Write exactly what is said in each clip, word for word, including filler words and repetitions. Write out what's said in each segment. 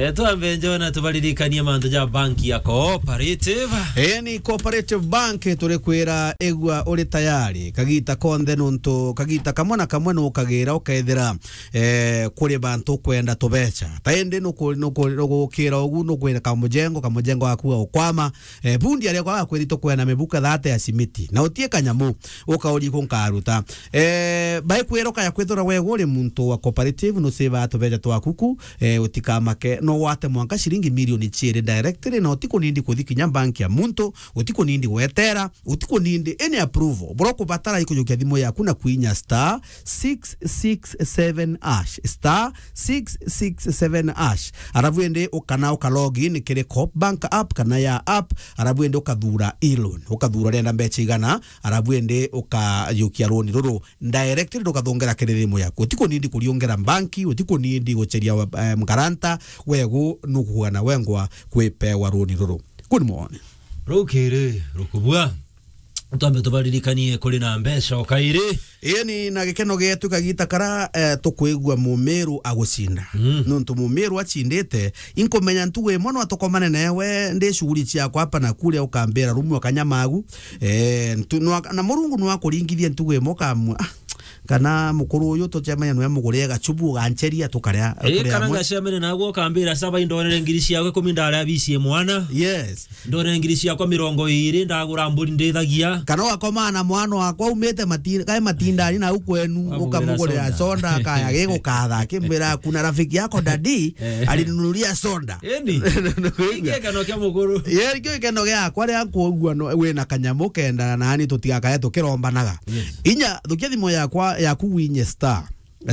Eh, twambe njona tubaririkanie mantu ja banki ya Cooperative. Eni Cooperative Bank, turikwira igua uri tayari kagita konthe, nuntu kagita kamwe na kamwe nukagira ukethira, eh, kuri bantu ukwenda tubecha. Ta indi nuku-, nuku-, nugukira ugu, nukwira kamujengo, kamujengo gaku gaukwama, eh, bundi aria kwaga kwiri tukwenda mibuka thate ya simiti. Na utie kanyamu, ukauria iku nkaruta. Eh, baikwira ukaya kwithirwa we uri muntu wa cooperative, nusiva tubecha twaku ku, eh, utikamake, no wate mwanka ciringi milioni ciiri directly, na utikunindi kuthi kinya bank ya muntu, utikunindi gwetera, utikunindi any approval. Bura ukubatara ikujukia thimu yaku na kwinya star six six seven hash, star six six seven hash. Arabu indi ukana uka log in kiri Coop Bank app kana ya app, arabu indi ukathura e-loan, ukathura urenda mbecha igana, arabu indi ukajukia loan ruru directly rukathongera kiri thimu yaku. Utikunindi kuriungera banki, utikunindi gucheria, eh, mgaranta, wegu nukugana wengwa kwipewa loan ruru. Good morning. Rukiri, rukubua. Twambe tubaririkanie kuri na mbecha o kairi. Ii ni na gikeno gietu kagita kara, eh, tukwigua Mumiru agucinda. Mm. Nuntu Mumiru acindite, inkumenya ntugu imwe no tukomane newe ndi shughuli ciakwa hapa na kuria, ukambira rumu akanyamagu. Eh, ntu-, nwa-, na Murungu nwakuringithia ntugu imwe ukamua, ah, kana mukuru uyu tucemania nwe mugurire gachubu ugancheria tukaria, ii, tukaria kana amwe. Ngacemania naguo ukambira, saba indonere ngiri ciakwa ikumi ndaria bicie mwana. Yes. Ndonere ngiri ciakwa mirongo iiri ndagura mburi ndithagia. Kana ugakomana na mwana wakwa umite mati-, kae matindani na u kwenu, ukamugurira soda, akaya gigukatha, akimbira, "Kuna rafiki yako daddy alininunulia soda." Eni. Nikuigua? Ikio gikeno kia mukuru. Ye, ikio gikeno giakwa ria kuugua no, wina kanyamu kenda nani tutigakae tukirombanaga. Yes. Inya, thukia thimu yakwa, yaku winye star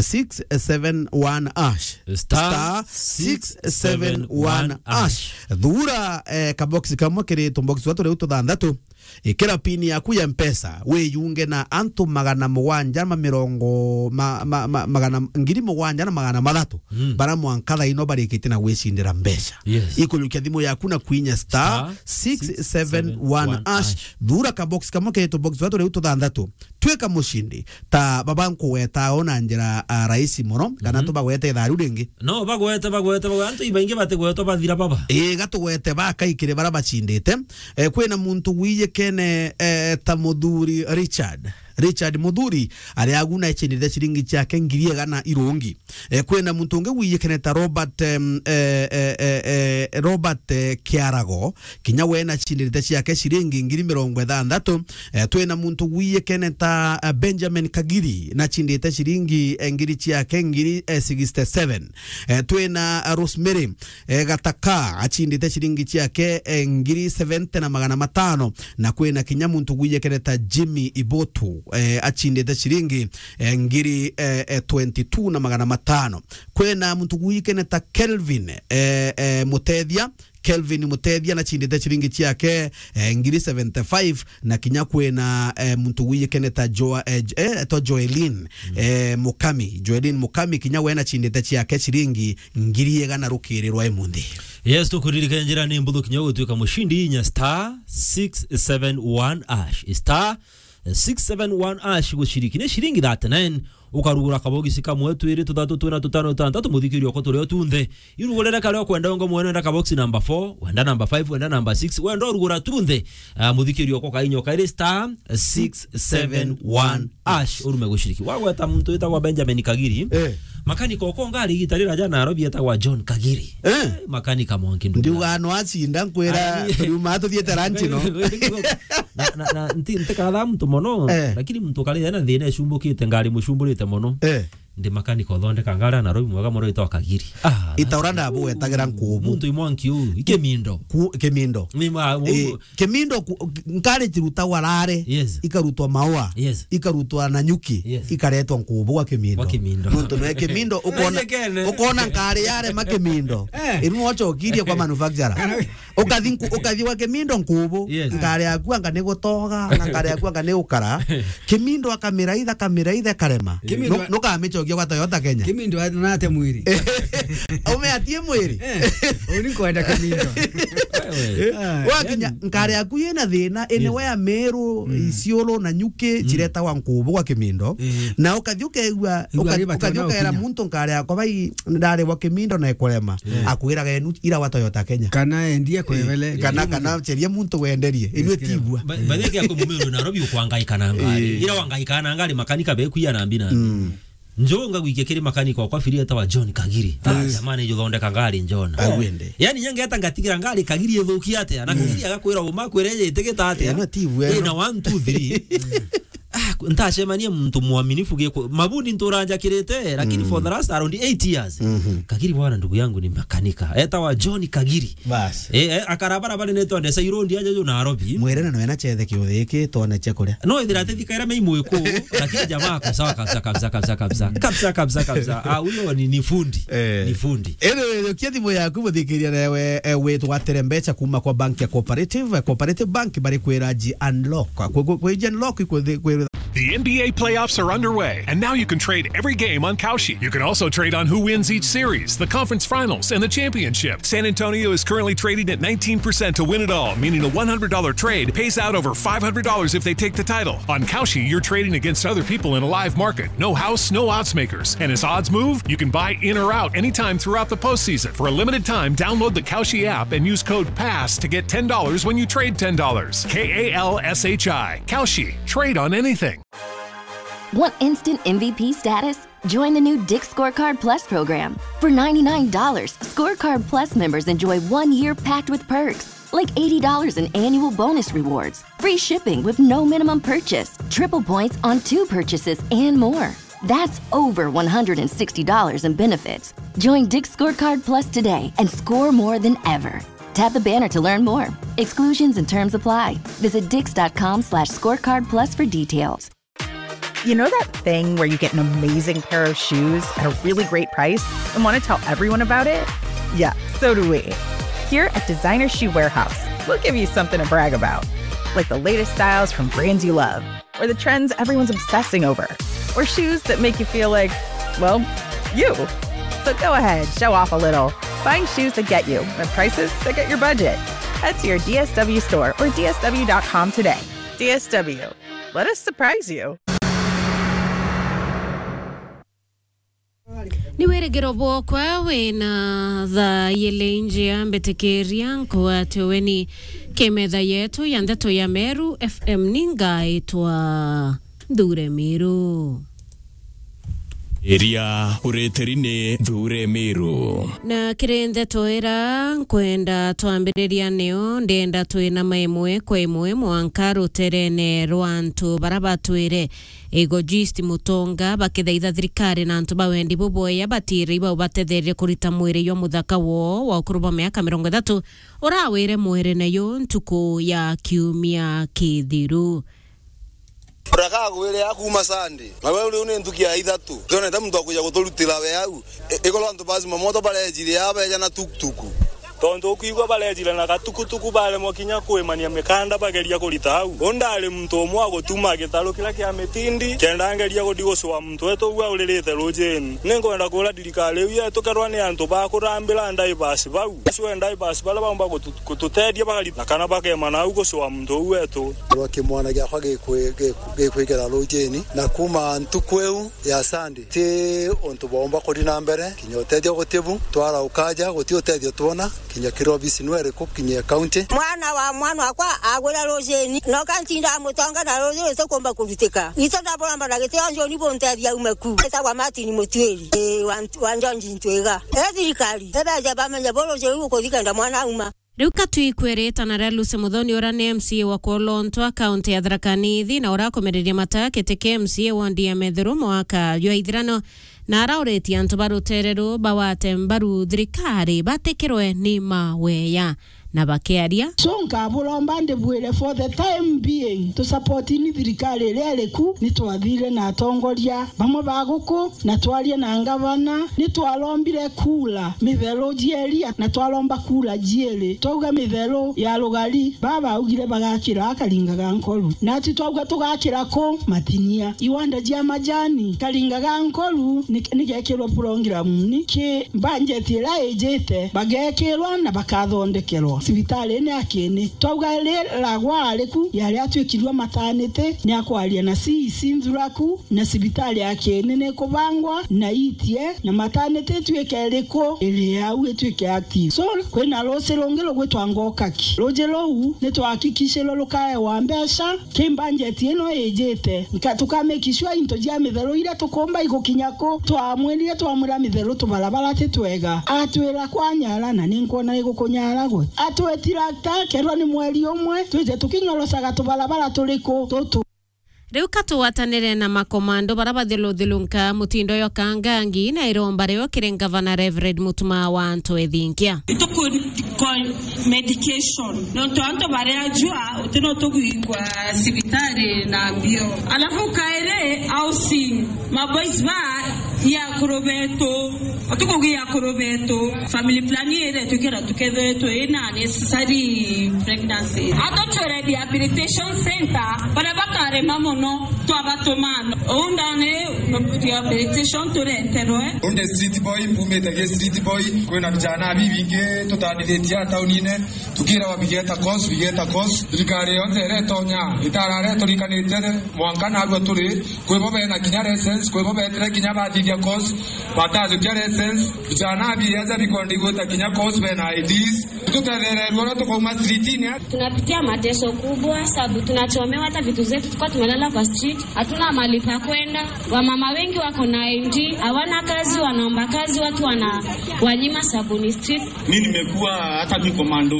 six seven one hash. Star six seven one hash. Thura, eh, kabox kamwe kiri tubox twa turi tuthanthatu. Ikira pin yaku ya Mpesa, wiyunge na antu magana mugwanja ma mirongo, ma-, ma-, ma-, magana, ngiri mugwanja na magana mathatu, mm, bara mwanka thaino barikite na gwicindira mbecha. Yes. Ikujukia thimu yaku na kwinya star six seven one hash. Thura kabox kamwe kiri tubox twa turi tuthanthatu. Twika mucindi. Ta baba nkugweta o na njira, ah, rahisi mono, kana, mhm, tubagwete ithaa riu ringi? No, bagwete, bagwete, bagwete. Antu ibaingi batigwetwa bathira baba. Ii, gatugwete bakaikire bara bacindite. Eh, kwina muntu wiyikene, eh, ta Muthuri Richard. Richard Muthuri, aria agu na icindite ciringi ciake ngiri igana irungi. Eh, kwina muntu ungi wiyikene ta Robert, em, eh, eh, eh, eh, Robert, eh, Kiarago, kinya we na cindite ciake ciringi ngiri mirongo ithanthatu. Eh, twina muntu wiyikene ta, eh, Benjamin Kagiri, na cindite ciringi, eh, ngiri ciake ngiri, eh, sixty seven. Eh, twina, eh, Rosemary, eh, Gataka, acindite ciringi ciake, eh, ngiri seventy na magana matano, na kwina kinya muntu wiyikene ta Jimmy Ibotu, eh, acindite ciringi, eh, ngiri, eh, eh, twenty two na magana matano. Kwina muntu wiyikene ta Kelvin, eh, eh, Mutethia, Kelvin Mutethia na cindite ciringi ciake, eh, ngiri seventy five, na kinya kwina, eh, muntu wiyikene ta Joa-, eh, J-, eh, to Joelin, mm, eh, Mukami. Joelin Mukami kinya we na cindite ciake ciringi ngiri igana rukiri rwa imunthi. Yes, tukuririkania njira ni mbuthu kinya gutwika mucindi inya star six seven one hash. Star six seven one hash guciriki. Ni ciringi thirty nine, ukarugura kabogisi kamwe, twiri, tuthatu, tuna, tutano, tutanthatu, muthikiri okwa turio tunthe. Irugurire karia ukwenda, ungo mwene wenda kabogisi number four, wenda number five, wenda number six, wenda urugura tunthe. Ah, muthikiri okwa kainya ukairi star six seven one hash, urume guciriki. Wagweta muntu witagwa Benjamin Kagiri. Eh. Makanika okwa ngari igita rira ja Nairobi etagwa John Kagiri. Eh. Eh, makanika mwanki ndugu. Ndiuga no acinda nkwira, ari, turiuma tuthiete ranchi no. Na, na, na, nti-, ntikatha muntu mono, eh, lakini muntu kari ena thina ecumbukite, ngari mucumburite mono. Eh. Ndi makanika uthondeka ngari na roi mwega mono itwa Kagiri. Ah, itaura ndabugwetagira nkubu. Muntu imwanki u, ikimindo. Ku-, kimindo. Ni ma, eh, kimindo ku-, ngari cirutagwa rare, yes, ikarutwa maua, yes, ikarutwa na nyuki, yes, ikaretwa nkubu gwa kimindo. Gwa kimindo. Nuntu no kimindo, ukona, ukona ngari yare ma kimindo. Eh. Iru nochokirie kwa manufacturer. Ukathi nku-, ukathi gwa Kimindo Nkubu, yes, nkari yaku anga ni gutoga, na nkari yaku anga ni ukara. Kimindo akamiraitha, akamiraitha, karema. Kimindo Nu-, nukamicokia gwa Toyota Kenya. Kimindo anate mwiri. Ume atie mwiri. Eh, uni kwenda Kimindo. Wewe. Ah, wakinya, yani nkari yaku yina thina, ene, yes, wea Meru, mm, Isiolo na Nyuki, mm, ciretagwa Nkubu gwa Kimindo. Eh. Na ukathi ukegua, Igua uka-, riba ukathi tona ukera ukinya. Muntu nkari yakwa bai, ndari gwa Kimindo na ikurema. Yeah. Akwiraga enu ira wa Toyota Kenya. Kana endie kwebele. Eh, kana, kana ceria muntu wenderie. Inwe tigua. Ba-, batheke ako mumero na robi ukwangaika na ngari. Eh. Ira wangaika na ngari makanika beku ya nambi na. Mm. Njo ngagwikia kiri makanika kwa firi etawa John Kagiri. Ah, mm, jamani, njo thondeka ngari njona. Awende. Yani nyangeta ngatigira ngari Kagiri ithuki atia? Na, mm, Kagiri agakwira uma kwire itigita atia? Eh, no tigua. Eh, na one, two, three. Ah, ku-, ntacemanie muntu mwaminifu giko. Mabundi nturanjakirite, lakini, mm, for the last around eight years. Mhm. Kagiri bwana, ndugu yangu ni makanika. Etawa John Kagiri. Bas. Eh, eh, akara bara bari netwa ndesa irondi aja jo Nairobi. Mwire na nwena cethe kiuthi giki twone cia kuria. No ithira ati thika ira mei mwiku, lakini jamaa ako sawa kabisa, kabisa, kabisa, kabisa. Kabisa, kabisa, kabisa. Ah, huyo ni, ni fundi. Eh. Ni fundi. Anyway, kia thimu yaku muthikiria nawe, eh, witwa Tere Mbeca kuma kwa bank ya Cooperative. Eh, Cooperative Bank bari kwira ji unlock. Kwe, kwe, kwe ji unlock, kwe, kwe, The N B A playoffs are underway, and now you can trade every game on Kalshi. You can also trade on who wins each series, the conference finals, and the championship. San Antonio is currently trading at nineteen percent to win it all, meaning a one hundred dollar trade pays out over five hundred dollars if they take the title. On Kalshi, you're trading against other people in a live market. No house, no odds makers. And as odds move, you can buy in or out anytime throughout the postseason. For a limited time, download the Kalshi app and use code pass to get ten dollars when you trade ten dollars. K A L S H I. Kalshi. Trade on anything. Want instant M V P status? Join the new Dick's Scorecard Plus program. For ninety-nine dollars, Scorecard Plus members enjoy one year packed with perks, like eighty dollars in annual bonus rewards, free shipping with no minimum purchase, triple points on two purchases, and more. That's over one hundred sixty dollars in benefits. Join Dick's Scorecard Plus today and score more than ever. Tap the banner to learn more. Exclusions and terms apply. Visit dicks.com slash scorecard plus for details. You know that thing where you get an amazing pair of shoes at a really great price and want to tell everyone about it? Yeah, so do we. Here at Designer Shoe Warehouse, we'll give you something to brag about, like the latest styles from brands you love, or the trends everyone's obsessing over, or shoes that make you feel like, well, you. So go ahead, show off a little. Find shoes that get you at prices that get your budget. Head to your D S W store or D S W dot com today. D S W. Let us surprise you. Ni wirigiro bwokwa wina thaa ili njia, mbitikiria nkwate weni ki metha yetu ya ndeto ya Meru F M. Ni ngaitwa Nthure Miru. Iria uritiri ni Nthure Miru. Na kiri ndeto ira nkwenda twambiriria nio, ndenda twinama imwe kwa imwe mwanka ruterene rwa antu bara batwire Egojist Mutonga bakithaitha thirikari na antu ba wendi bubwea batire ibau batetherie kurita mwiri jwa muthaka woo wa ukuru bwa miaka mirongo ithatu urawire mwerene yu ntuku ya kiumia kithiru. Urakaagwire ya kuuma Sunday, na we uri ni ntuku ya ithatu. Twonete muntu wa kuja guturutira we au. I-, ikorwo antu ba zimamoto barejire aa beja na tukutuku. Tontu ukwigua barejire na gatukutuku, baremwa kinya kwimania mikanda bageria kurita au. U ndari muntu umwe wa gutuma gitaru kiria kia mitindi, kenda ngeria guthi gucua muntu wetu uu auririte rujini. Ni nkwenda kuura thirikari iu yetu, kerwa ni antu ba kurambira ndivers bau. Acue ndivers baria baumba gutu-, gututethia bakarita, na kana bakemana au gucua muntu uu wetu. Rwa kimwana giakwa gikwi-, giku-, gikwikira rujini, na kuuma ntuku iu ya Sunday, ti untu bwaumba kuthi na mbere, kinya utethio guti bu, twara ukaja, guti utethio twona, kinya kiri obisi nwe iriku, kinya county. Mwana wa mwana wakwa agwira rujini, noka ntinda mutonga na ruji rwite kumba kurutika. Ito ndaburamba na gitio njoni buntethia ume ku. Etagwa Martin Mutuiri, ii, wa Nt-, wa Njonji Ntwiga. E thirikari, ebeje bamenye bu ruji ruu gukuthi kenda mwana auma. Riu ka twikwe ritana ria Lucy Muthoni, uria ni M C A wa Kwolontwa, kaunti ya Tharaka Nithi, na uria akumiririe mata giti kia M C A wondi ya Methuru mwaka jwa ithirano, na arauritie antu ba rutere ruu bawate mbaru thirikari batikirwe ni maweya. na bakiaria. So nkaburomba ndibwire, for the time being, tusapotini thirikari iria iriku. Ni twathire na atongoria bamwe ba guku, na twaria na ngavana, ni twarombire kura mitheru jieria, na twaromba kura jiiri. Twauga mitheru ya rugari, baba augire bagakira Karinga ga Nkoru. Nati twauga tugakira ku? Matinia. Iwanda jia majani, Karinga ga Nkoru, ni, ni gekirwe program ni ki mbanjeti iria ijite, bagekirwa na bakathondekerwa cibitari ni akini. Twauga riragwa ariku yari atwikirwe mataniti, ni akwaria na C E C Nthuraku, na cibitari ya Kieni ni kubangwa na itie, na mataniti itwike iriku iri au itwike active. So, kwina ruuji rungi rugwitwa Ngokaki. Ruuji ruu ni twahakikishirwe rukaewa mbeca ki mbanjeti ino ijite. Nka-, tukamake sure into jia mitheru iria tukumba igukinya ku. Twamwirire, twamwira mitheru tubarabara ti twega. Atwira kwanyara, na ni nkwona igukunyara gwe. Atwitira ta kerwa ni mweri umwe, twije tukinyorocaga tubarabara turiku tutu. Riu ka tugwatanire na makomando bara bathiluthilunka mutindo yo kangangi na iromba rio kiri ngavana Reverend Mutuma wa Anto Ethingia. Ituku ko medication. Nontu antu baria jua, uti no tugwigwa cibitari na mbio. Alafu kairi housing, maboys ba ya akuru betu, utukugia akuru betu, family plan ire tukira tukethwe twina necessary pregnancy. Ato twi rehabilitation center, baria bakarema mono, twabatuma. Uu ndani rehabilitation tureterwe. Unde street boy, mpumite gi street boy, kwina vijana bibingi tutandithitie taunine, tukira wa bigeta course, bigeta course. Thirikari yonthe iretonya, itarare turikanite mwanka narua turi, kwi bo bena kinya license, kwi bo betire kinya bathithia course, batajukia license. Vijana biaja bikwenda igwita kinya course bena I Ds. Tutethereerwe uria tukauma streetini. Tunapitia mateso kubwa, sababu tunachomewa, hata vitu zetu tulikuwa tumelala kwa street, hatuna mahali pa kwenda. Wamama wengi wako na I D, hawana kazi, wanaomba kazi, watu wanawanyima sababu ni street. Mi nimekuwa hata mi komando.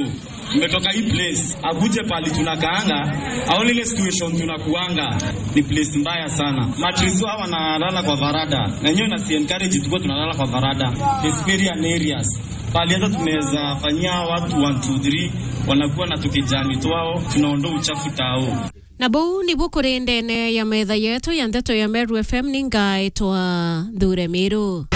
Nimetoka hii place, akuje pali tunakaanga, aone ile situation tunakuanga. Ni place mbaya sana. Matris hawa wanalala kwa varada. Na nyewe nasi encourage tukuwe tunalala kwa varada. Especially areas. Pali hata tunaweza fanyia watu one, two, three, wanakuwa na tukijani twao, tunaondoa uchafu tao. Na buu nibu kuri ndene ya metha yetu ya ndeto ya Meru F M, ni ngaitwa Nthure Miru.